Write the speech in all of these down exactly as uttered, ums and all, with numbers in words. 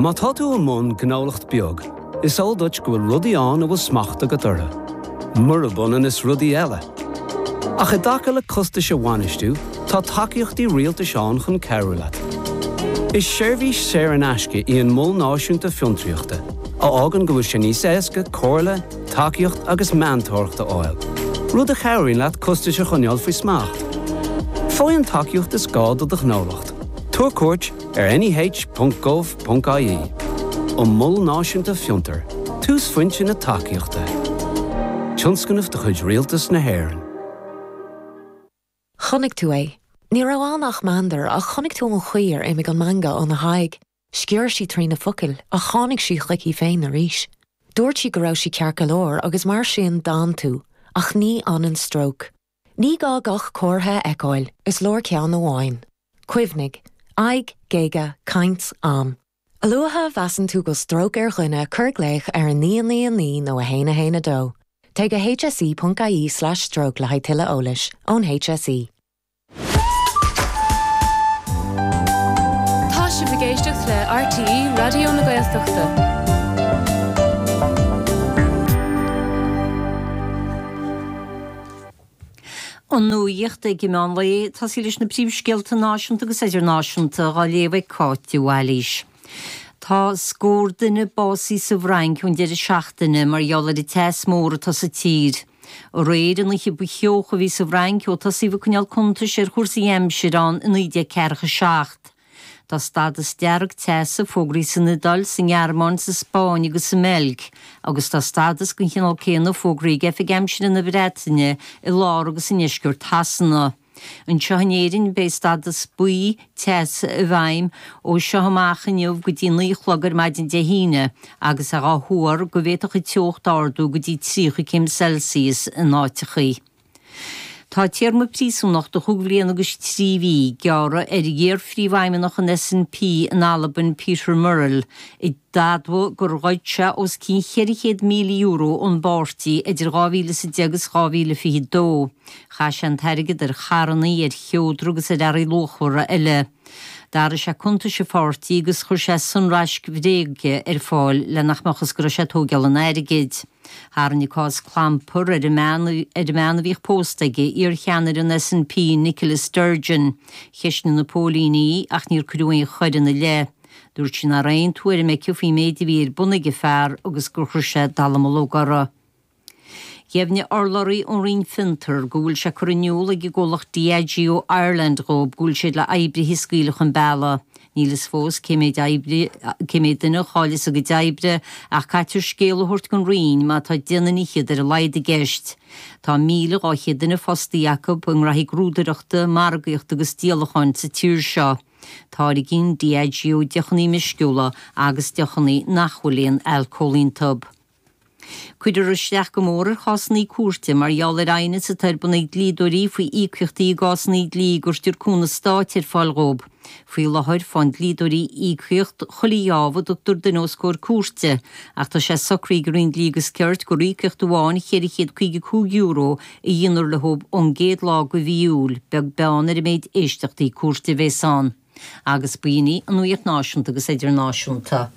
Má tá tú i mbun gnólacht beag, is eol duit go bhfuil rudaí ann a bhfuil smacht agat orthu. Murab ionann is rudaí eile. Ach i dtaca le costais a bhainistiú, tá tacaíochtaí rialtais ann chun cabhrú leat. Is seirbhís saor in aisce í an Mol Náisiúnta Fiontraíochta, a fhágann go bhfuil sé níos éasca comhairle, tacaíocht agus meantóireacht a fháil. Rud a chabhraíonn leat costais a choinneáil faoi smacht. Faigh an tacaíocht is gá do do ghnólacht. Tabhair cuairt ar N E H ponc gov ponc I E. An Mol Náisiúnta Fiontar, túsphointe na tacaíochta. Tionscnamh de chuid Rialtas na hÉireann. Chonaic tú é. Ní raibh ann ach meandar, ach chonaic tú an chaoi ar imigh an meangadh óna haghaidh. Sciorr sí trí na focail, ach tháinig sí chuici féin arís. Dúirt sí go raibh sí ceart go leor agus mar sin d'fhan tú, ach ní fhanann stróc. Ní gá gach comhartha a fheiceáil, is leor ceann amháin. Cuimhnigh, aghaidh, géaga, caint, am. A luaithe a mheasann tú go bhfuil stróc ar dhuine, cuir glaoch ar a naoi naoi naoi nó a haon a haon a dó. Téigh go H S E ponc I E slash stroke le haghaidh tuilleadh eolais ón H S E. Tá sibh ag éisteacht le R T É Raidió na Gaeltachta. An nuacht ag meán lae, tosaí leis na príomhscéalta náisiúnta agus idirnáisiúnta á léamh ag Cáit de Bhailís. Tá scór duine básaithe sa bhFrainc ón deireadh seachtaine mar gheall ar an teas mór atá sa tír. Aréir an oíche ba theocha a bhí sa bhFrainc ó tosaíodh ag coinneáil cuntais ar chúrsaí aimsire ann i naoi déag ceathracha seacht. Tá stádas dearg teasa fógraithe san Iodáil, sa nGearmáin, sa Spáinn agus sa mBeilg, agus tá stádas den chineál céanna fógraithe ag Oifig Aimsire na Breataine i lár agus i ndeisceart Shasana. Anseo in Éirinn beidh stádas buí teasa i bhfeidhm ó seo amach inniu go dtí naoi a chlog ar maidin Dé hAoine, agus é á thuar go bhféadfadh an teocht ardú go dtí tríocha céim Celsius in áiteachaí. Tá téarma príosúnachta chúig bhliain agus trí mhí gearrtha ar iar-phríomhfheidhmeannach an S N P in Albain, Peter Murrell, a d'admhaigh gur ghoid sé os cionn cheithre chéad míle euro ón bpáirtí idir dhá mhíle is a deich agus dhá mhíle fiche dó. Chaith sé an t-airgead ar charranna, ar sheodra agus ar earraí luachmhara eile. D'athraigh sé cuntais an pháirtí agus chuir sé sonraisc bhréige ar fáil le nach mbeadh fhios go raibh sé ag tógáil an airgid. Tharraing an cás clampar ar an mbean ar an mbean a bhíodh pósta aige, iar-cheannaire an S N P Nicola Sturgeon. Cheistigh na póilíní í ach níor cuireadh aon choir ina leith. Dúirt sí nach raibh aon tuairim aici faoin méid a bhí ar bun ag a fear agus gur chuir sé dallamullóg uirthi. Dheimhnigh urlabhraí ón Roinn Fiontar go bhfuil sé curtha in iúl ag an gcomhlacht Diageo Ireland dhóibh go bhfuil siad le oibrithe a scaoileadh chun bealaigh. Níl fhios fós cé méid oibre cé méid duine a chaillfeas a gcuid oibre, ach caithfear scéal a thabhairt don Roinn má tá deich nduine fhichead ar a laghad i gceist. Tá míle dhá chéad duine fostaithe acu i ngraithí grúdaireachta, margaíochta agus díolacháin sa tír seo. Táirgíonn Diageo deochanna meisciúla agus deochanna nach bhfuil aon alcól iontu. Cuirfear isteach go mór ar chásanna cúirte mar gheall ar aighneas atá ar bun ag dlíodóirí faoi íocaíochtaí i gcásanna dlí go gcuirtear cúnamh stáit ar fáil dhóibh. Faoi láthair faigheann dlíodóirí íocaíocht chuile gheábh a dtugtar duine os comhair cúirte, ach tá sé socraithe ag an Roinn Dlí agus Cirt gur íocaíocht amháin cheithre chéad caoga cúig euro a dhéanfar leo ón gcéad lá de mhí Iúil, beag beann ar an méid éisteachtaí cúirte a bheas ann. Agus b'in í an nuacht náisiúnta agus idirnáisiúnta.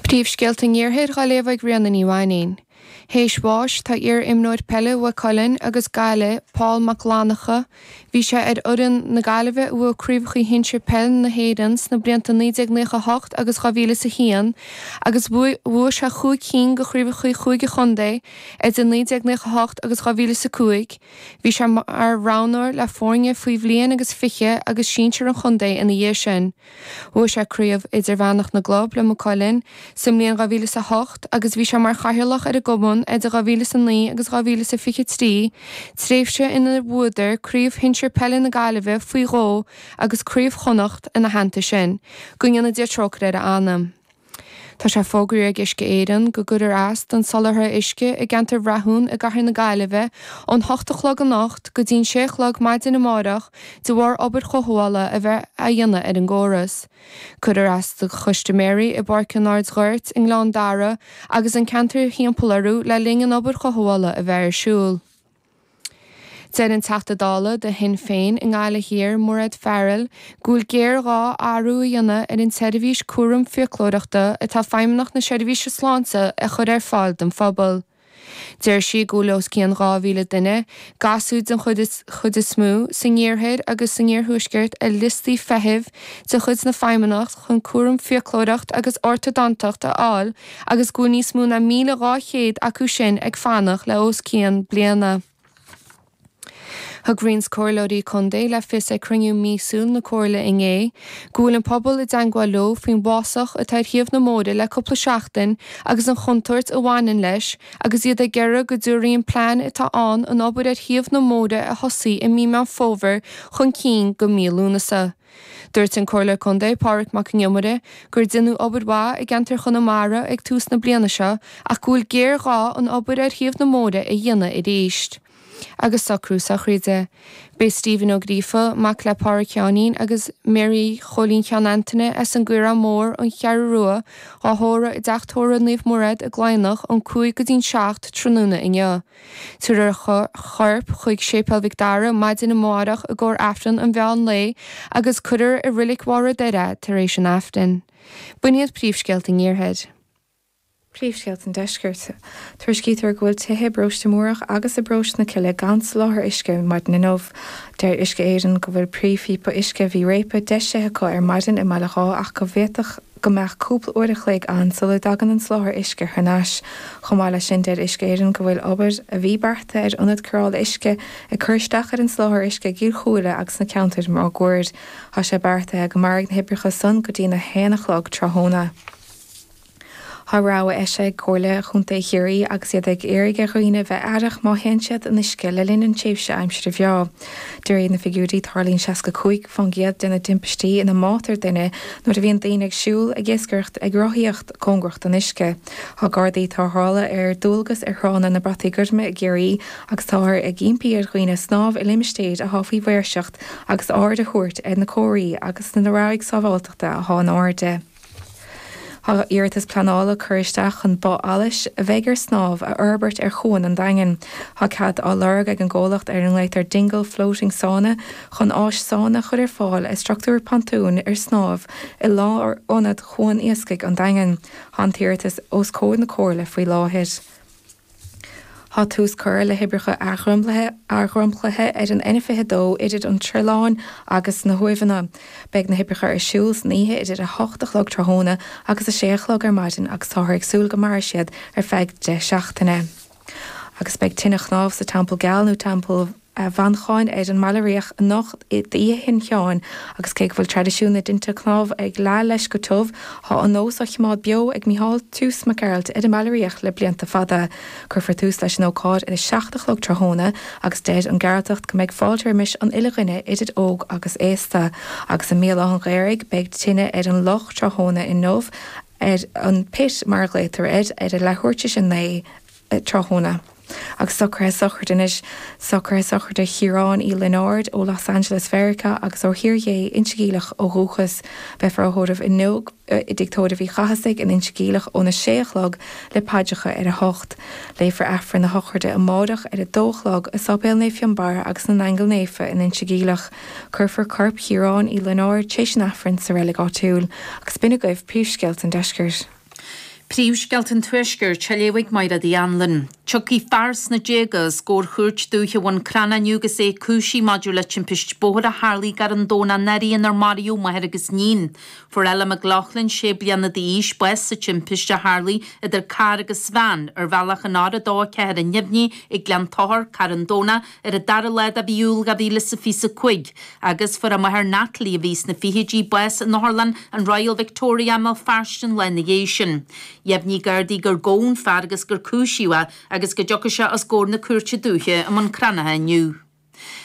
Príomhscéalta an Iarthair á léamh ag Ríona Ní Mhainín. Théis bháis tá iar-imreoir peile Mhaigh Cuilinn agus Gaillimh, Paul Mac Fhlannchadha. Bhí sé ar fhoireann na Gaillimhe a bhuaigh craobhacha shinsir peil na hÉireann sna blianta naoi déag nócha a hocht agus dhá mhíle is a haon, agus bhuaigh sé chúig cinn de chraobhacha chúige chontae idir naoi déag nócha a hocht agus dhá mhíle is a cúig. Bhí sé mar roghnóir le foirne faoi bhliain agus fiche agus sinsir an chontae ina dhiaidh sin. Bhuaigh sé craobh idirmheánach na gclub le Maigh Cuilinn sa mbliain dhá mhíle is a hocht agus bhí sé mar chathaoirleach ar an gcumann idir dhá mhíle is a naoi agus dhá mhíle is a fiche trí, tréimhse inar bhuadar craobh shinsir peile na Gaillimhe faoi dhó agus craobh Chonnacht ina theannta sin. Go ndéana Dia trócaire ar a anam. Tá sé fógraithe ag Uisce Éireann go gcuirfear as don soláthar uisce i gceantar Bhrathún i gcathair na Gaillimhe ón hocht a chlog anocht go dtí'n sé a chlog maidin amárach de bharr obair chothabhála a bheith á dhéanamh ar an gcóras. Cuirfear as do chustaiméirí i bPáirc an Ardghoirt, i nGleann Dara agus an ceantar timpeall orthu le linn an obair chothabhála a bheith ar siúl. Deir an Teachta Dála do Shinn Féin i nGaillimh Thiar Mairéad Farrell go bhfuil géarghá athrú a dhéanamh ar an tseirbhís cúram fiaclóireachta atá Feidhmeannacht na Seirbhíse Sláinte a chur ar fáil don phobal. Deir sí go bhfuil os cionn dhá mhíle duine, gasúir den chuid is mó, san iarthar agus san iarthuaisceart ar liostaí feithimh de chuid na Feidhmeannacht chun cúram fiaclóireacht agus ortadantacht a fháil agus go bhfuil níos mó ná míle dhá chéad acu sin ag fanacht le os cionn bliana. Thug roinnt comhairleoirí contae le fios ag cruinniú míosúil na comhairle inné go bhfuil an pobal i dteagmháil leo faoin bhfásach atá ar thaobh na mbóithre le cúpla seachtain agus an chontúirt a bhaineann leis agus iad ag iarraidh go dtabharfaí an plean atá ann an obair ar thaobh na mbóithre a thosaigh i mí Meán Fómhair chun cinn go mí Lúnasa. Dúirt an Comhairleoir Contae Pádraig Mac an Iomaire gur deineadh obair mhaith i gceantar Chonamara ag tús na bliana seo ach go bhfuil géarghá an obair ar thaobh na mbóithre a dhéanamh arís. Agus socrú sochraide. Beidh Stephen Ó Gríofa, mac le Pádraig Sheáinín agus Mary Chóilín Sheáin Antaine as an gCaorán Mór, An Cheathrú Rua, á thórramh i dTeach Tórraimh Naomh Mairéad i gCladhnach ón cúig go dtí'n seacht tráthnóna inniu. Tabharfar a chorp chuig Séipéal Mhic Dara maidin amárach i gcomhair Aifreann an mheán lae agus cuirfear i Reilig Bharr an Doire é tar éis an Aifrinn. B'in iad príomhscéalta an Iarthair. Príomhscéalta an Deiscirt. Tuairiscítear go bhfuil tithe i bparóiste Múrach agus i bparóiste na Cille gan soláthar uisce maidin inniu. Deir Uisce Éireann go bhfuil príomhphíopa uisce a bhí réabtha deisithe acu ar maidin i mBaile Dháith ach go bhféadfadh go mbeadh cúpla uair a chloig ann sula dtagann an soláthar uisce thar n-ais. Chomh maith leis sin deir Uisce Éireann go bhfuil obair a bhí beartaithe ar ionad cóireála uisce ag cur isteach ar an soláthar uisce i gCill Chúile agus sna ceantair máguaird. Tá sé beartaithe go mairfidh na hoibreacha san go dtína haon a chlog tráthnóna. Tá rabhadh eisithe ag Comhairle Chontae Chiarraí agus iad ag iarraidh ar dhaoine bheith aireach má théann siad in uisce le linn an tréimhse aimsire bhreá. De réir na figiúirí, tarlaíonn seasca cúig faoin gcéad de na timpistí ina mbátar duine nuair a bhíonn daoine ag siúl, ag iascaireacht, ag rothaíocht cóngarach don uisce. Tá Gardaí tarrthála ar dualgas ar thránna na Brataí Goirme i gCiarraí agus táthar ag impí ar dhaoine snámh i limistéir atá faoi mhaoirseacht agus aird a thabhairt ar na comharthaí agus na rabhaidh sábháilteachta atá in airde. Tá iarratas pleanála curtha isteach chun both allais a bheidh ar snámh a fhorbairt ar Chuan an Daingin. Tá cead á lorg ag an gcomhlacht ar a nglaotar Dingle Floating Sauna chun áis sauna a chur ar fáil i struchtúr pontúin ar snámh i lárionad Chuan Iascaigh an Daingin. Tá an t-iarratas os comhair na Comhairle faoi láthair. Tá tús curtha le hoibreacha athdhromchlaithe ar an N fiche dó idir an Tríleán agus na hUaimheanna. Beidh na hoibreacha ar siúl san oíche idir a hocht a chlog tráthnóna agus a sé a chlog ar maidin agus táthar ag súil go mairfidh siad ar feadh deich seachtaine. Agus beidh tine chnámh sa Teampall Geal nó Teampall Mhanchain ar an mBaile Riach anocht d'Oíche Shin Sheáin agus cé go bhfuil traidisiún na dtinte cnámh ag leá leis go tiubh, tá an nós á choimeád beo ag Micheál Toose Mac Gearailt ar an mBaile Riach le blianta fada. Cuirfear tús leis an ócáid ar a seacht a chlog tráthnóna agus deir an Gearaltach go mbeidh fáilte roimis an uile dhuine idir óg agus aosta. Agus i mBéal Átha an Ghaorthaidh beidh tine ar an loch tráthnóna inniu ar an Pit mar a ghlaotar air ar a leathuair tar éis a naoi tráthnóna. Agus socruithe sochraide anois, socruithe sochraide Chiaráin Uí Lionáird ó Los Angeles Mheiriceá agus ó Thír Dhé, Inse Geimhleach ó dhúchas. Beifear á thórramh inniu i dTigh Tórraimh Uí Chathasaigh in Inse Geimhleach óna sé a chlog le paidreacha ar a hocht. Léifear Aifreann na sochraide amárach ar a dó a chlog i Sáipéal Naomh Fionnbarra agus na nAingeal Naofa in Inse Geimhleach. Cuirfear corp Chiaráin Uí Lionáird tar éis an Aifrinn sa reilig áitiúil. Agus b'in agaibh príomhscéalta an deiscirt. Príomhscéalta an Tuaiscirt á léamh ag Máire Uí Anluain. Tiocfaidh fear sna déaga os comhair chúirt dúiche Bhun Cranncha inniu agus é cúisithe maidir le timpist bóthair a tharlaigh gar an Domhnach anuraidh inar maraíodh máthair agus níon. Fuair Ella McLaughlin, sé bliana d'aois, bás sa timpist a tharlaigh idir carr agus veain ar bhealach an R a dó a ceathair i nDuibhne ag Gleann Tochair, Carn Domhnach, ar an dara lá de mhí Iúil dhá mhíle is a fiche a cúig, agus fuair a máthair Natalie, a bhí sna fichidí, bás in otharlann an Royal Victoria i mBéal Feirste an lá ina dhiaidh sin. Dheimhnigh Gardaí gur gabhadh an fear agus gur cúisíodh é agus go dtiocfaidh sé os comhair na Cúirte Dúiche i mBun Cranncha inniu.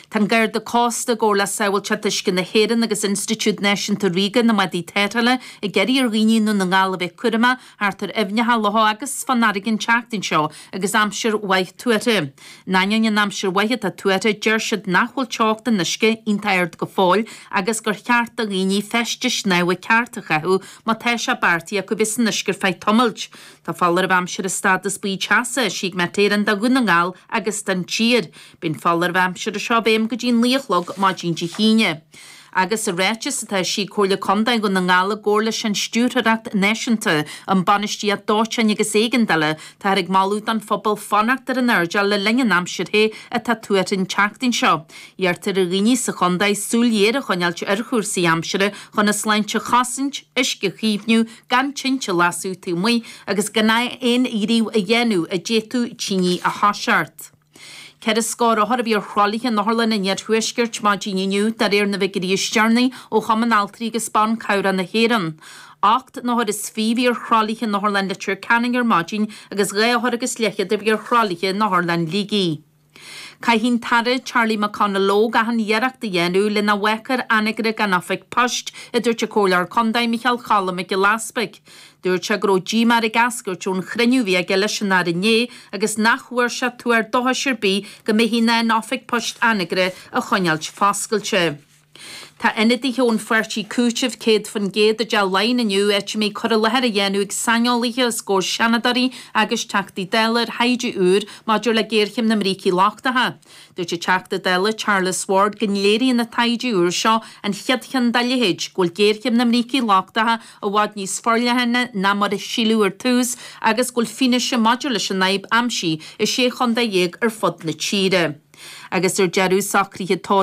Tá an Garda Cósta i gcomhar le Sábháilteacht Uisce na hÉireann agus Institiúid Náisiúnta Ríoga na mBádaí Tarrthála ag iarraidh ar dhaoine i nDún na nGall a bheith cúramach thart ar aibhneacha, locha agus fán fharraige an tseachtain seo agus aimsir mhaith tuartha. In ainneoin an aimsir mhaith atá tuartha, deir siad nach bhfuil teocht an uisce iontach ard go fóill agus gur cheart do dhaoine feistis shnámha ceart a chaitheamh má tá sé beartaithe acu bheith san uisce ar feadh tamaill. Tá foláireamh aimsire stádas buí teasa eisithe ag Met Éireann do Dhún na nGall agus don tír. Beidh an foláireamh aimsire seo i bhfeidhm go dtí naoi a chlog maidin Dé hAoine. Agus i ráiteas atá eisithe ag Comhairle Contae Dhún na nGall i gcomhar leis an Stiúrthóireacht Náisiúnta um Bainistíocht Dóiteáin agus Éigeandála, táthar ag moladh don phobal fanacht ar an airdeall le linn an aimsir the atá tuartha an tseachtain seo. Iarrtar ar dhaoine sa chontae súil ghéar a choinneáilt ar chúrsaí aimsire chun a sláinte a chosaint, uisce a chaomhnú, gan tinte a lasadh taobh amuigh agus gan aon ghníomh a dhéanamh a d'fhéadfadh tine a thoiseacht. Ceithre scór othar a bhí ar thralaithe in otharlanna an iarthuaiscirt maidin inniu, de réir na bhfigiúirí is deireanaí ó Chumann Altraí agus Ban Cabhrach na hÉireann. Ocht n-othar is fiche a bhí ar thralaithe in Otharlann Leitir Ceanainn ar maidin agus dhá othar agus leathchéad a bhí ar thralaithe in Otharlann Shligigh. Caithfidh an tAire Charlie McConalogue achan iarracht a dhéanamh le nach bhfágfar Anagaire gan oifig poist, a dúirt an Comhairleoir Contae Micheál Cholm Mac Giolla Easpaig. Dúirt sé go raibh díomá air ag eascairt ón chruinniú a bhí aige leis an Aire inné agus nach bhfuair sé tuar dóchais ar bith go mbeifí in ann oifig poist Anagaire a choinneáilt foscailte. Tá ionadaithe ón pháirtí Cúiteamh céad faoin gcéad i dTeach Laighean inniu, áit a mbeidh cur i láthair á dhéanamh ag saineolaithe os comhair seanadóirí agus Teachtaí Dála ar thaighde úr maidir le géarchéim na mbrící lochtacha. Dúirt an Teachta Dála Charles Ward go léiríonn an taighde úr seo, an chéad cheann dá leithéid, go bhfuil géarchéim na mbrící lochtacha i bhfad níos forleithne ná mar a síleadh ar tús agus go bhfuil fianaise maidir leis an fhadhb aimsithe i sé chontae dhéag ar fud na tíre. Agus ar deireadh, socruithe tórraimh.